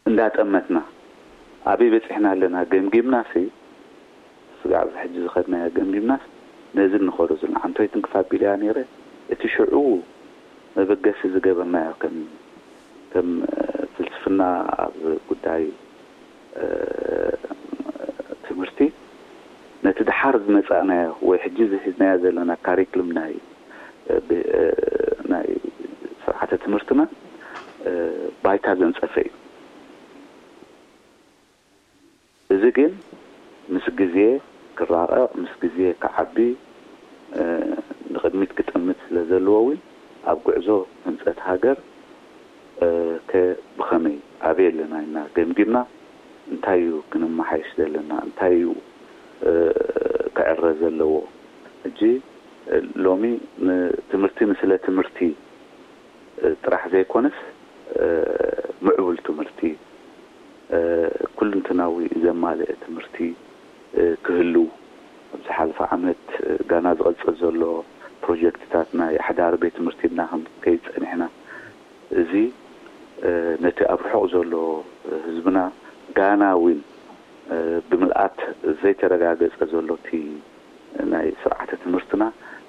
እንዳጠመትና ኣበይ በፂሕና ኣለና ገምጊምናሲ፣ ስጋዕ ኣብዚ ሕጂ ዝኸድናዮ ገምጊምናስ ነዚ እንኸዶ ዘለና ዓንቶይትን ክፋ ቢልያ ነይረ። እቲ ሽዑ መበገሲ ዝገበርናዮ ከም ከም ፍልስፍና ኣብ ጉዳይ ትምህርቲ፣ ነቲ ድሓር ዝመጻእናዮ ወይ ሕጂ ዝሒዝናዮ ዘለና ካሪክልም ናይ ናይ ስርዓተ ትምህርትና ባይታ ዘንጸፈ እዩ። እዚ ግን ምስ ግዜ ክራቐቕ፣ ምስ ግዜ ክዓቢ፣ ንቕድሚት ክጥምት ስለ ዘለዎ እውን ኣብ ጉዕዞ ህንጸት ሃገር ከ ብኸመይ ኣበይ ኣለና ኢልና ገምጊምና፣ እንታይ እዩ ክንመሓየሽ ዘለና፣ እንታይ እዩ ክዕረ ዘለዎ። ሕጂ ሎሚ ትምህርቲ ንስለ ትምህርቲ ጥራሕ ዘይኮነስ ምዕቡል ትምህርቲ፣ ኩልንትናዊ ዘማልአ ትምህርቲ ክህሉ፣ ኣብ ዝሓለፈ ዓመት ጋና ዝቐጽል ዘሎ ፕሮጀክትታት ናይ ኣሕዳሪ ቤት ትምህርቲ ኢልና ክንከይድ ጸኒሕና። እዚ ነቲ ኣብ ርሑቕ ዘሎ ህዝብና ጋና እውን ብምልኣት ዘይተረጋገጸ ዘሎ እቲ ናይ ስርዓተ ትምህርትና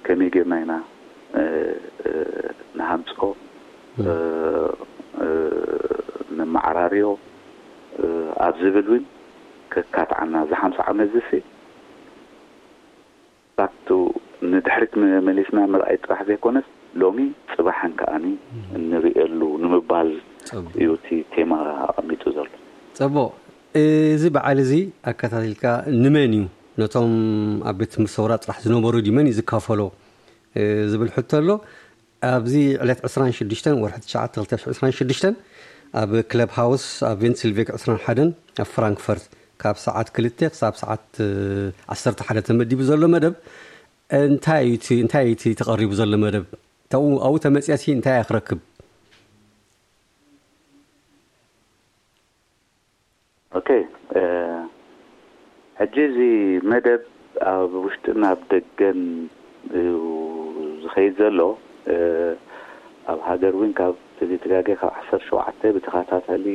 ከመይ ጌርና ኢና ንሃንጾ፣ ነመዓራርዮ ኣብ ዝብል እውን ከካትዓና። እዚ ሓምሳ ዓመት ዝሲ ቱ ንድሕሪት መሊስና ምርኣይ ጥራሕ ዘይኮነስ ሎሚ ጽባሕን ከኣኒ እንርእየሉ ንምባል እዩ እቲ ቴማ ኣቐሚጡ ዘሎ። ጽቡቕ። እዚ በዓል እዚ ኣከታቲልካ ንመን እዩ፣ ነቶም ኣብ ቤት ትምህርቲ ሰውራ ጥራሕ ዝነበሩ ድዩ፣ መን እዩ ዝካፈሎ ዝብል ሕቶ ኣሎ። ኣብዚ ዕለት ዕስራን ሽዱሽተን ወርሒ ትሽዓተ ክልተ ሽሕን ዕስራን ሽዱሽተን ኣብ ክለብ ሃውስ ኣብ ቬንትስልቬግ ዕስራን ሓደን ኣብ ፍራንክፈርት ካብ ሰዓት ክልተ ክሳብ ሰዓት ዓሰርተ ሓደ ተመዲቡ ዘሎ መደብ እንታይ እዩ እቲ እንታይ እዩ እቲ ተቐሪቡ ዘሎ መደብ? ተው ኣብኡ ተመፅያሲ እንታይ እያ ክረክብ? ኦኬ ሕጂ እዚ መደብ ኣብ ውሽጥን ኣብ ደገን እዩ ዝኸይድ ዘሎ። ኣብ ሃገር እውን ካብ ተዘይተጋገ ካብ ዓሰርተ ሸውዓተ ብተኸታታሊ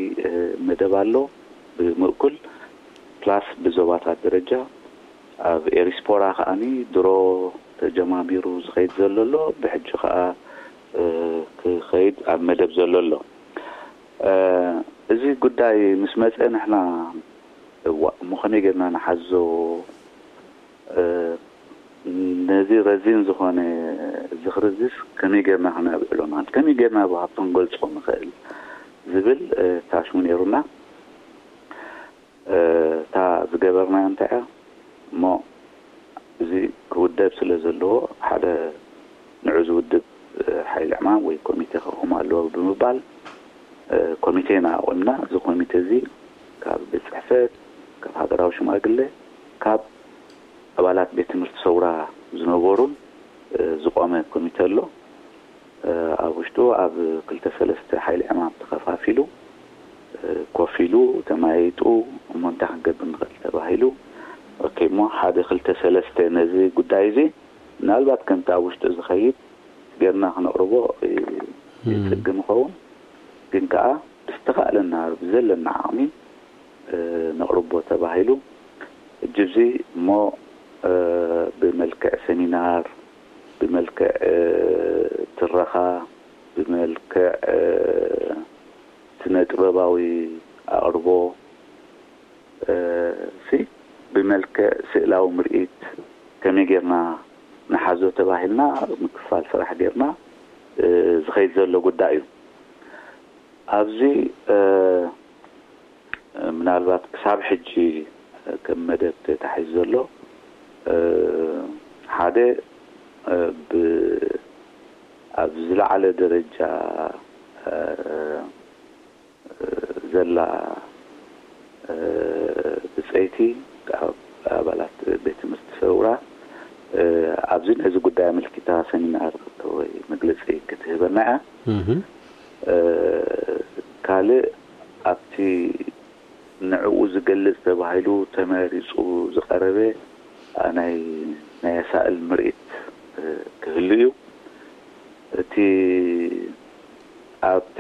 መደብ ኣሎ ብምእኩል ፕላስ ብዞባታት ደረጃ ኣብ ኤሪስፖራ ከዓኒ ድሮ ተጀማሚሩ ዝኸይድ ዘሎ ኣሎ። ብሕጂ ከዓ ክኸይድ ኣብ መደብ ዘሎ ኣሎ። እዚ ጉዳይ ምስ መፀ ንሕና እዋ እሞ ከመይ ጌርና ንሓዞ፣ ነዚ ረዚን ዝኾነ ዝኽሪ እዚስ ከመይ ጌርና ክነብዕሎ ንኽእል፣ ከመይ ጌርና ብሃብቶም ክንገልጾ ንኽእል ዝብል ታሽሙ ነይሩና። እታ ዝገበርናዮ እንታይ እያ እሞ፣ እዚ ክውደብ ስለ ዘለዎ ሓደ ንዑ ዝውድብ ሓይሊ ዕማም ወይ ኮሚቴ ክቕም ኣለዎ ብምባል ኮሚቴ ኢና ኣቑምና። እዚ ኮሚቴ እዚ ካብ ቤት ፅሕፈት፣ ካብ ሃገራዊ ሽማግሌ፣ ካብ ኣባላት ቤት ትምህርቲ ሰውራ ዝነበሩን ዝቆመ ኮሚቴ ኣሎ። ኣብ ውሽጡ ኣብ ክልተ ሰለስተ ሓይሊ ዕማም ተኸፋፊሉ ኮፍ ኢሉ ተመያይጡ እሞ እንታይ ክንገብር ንኽእል ተባሂሉ። ኦኬ እሞ ሓደ ክልተ ሰለስተ ነዚ ጉዳይ እዚ ምናልባት ከምቲ ኣብ ውሽጡ ዝኸይድ ጌርና ክነቕርቦ ይፅግም ይኸውን፣ ግን ከዓ ብዝተኻእለና ብዘለና ዓቕሚ ነቕርቦ ተባሂሉ። እጅ እዚ እሞ ብመልክዕ ሰሚናር፣ ብመልክዕ ትረኻ፣ ብመልክዕ ስነ ጥበባዊ ኣቕርቦ ሲ ብመልክዕ ስእላዊ ምርኢት ከመይ ጌርና ንሓዞ ተባሂልና ምክፋል ስራሕ ጌርና ዝኸይድ ዘሎ ጉዳይ እዩ። ኣብዚ ምናልባት ክሳብ ሕጂ ከም መደብ ተታሒዙ ዘሎ ሓደ ኣብ ዝለዓለ ደረጃ ዘላ ብፀይቲ ኣባላት ቤት ትምህርቲ ሰውራ ኣብዚ ነዚ ጉዳይ ኣመልኪታ ሰሚናር ወይ መግለፂ ክትህበና እያ። ካልእ ኣብቲ ንዕኡ ዝገልፅ ተባሂሉ ተመሪፁ ዝቐረበ ናይ ናይ ኣሳእል ምርኢት ክህሉ እዩ። እቲ ኣብቲ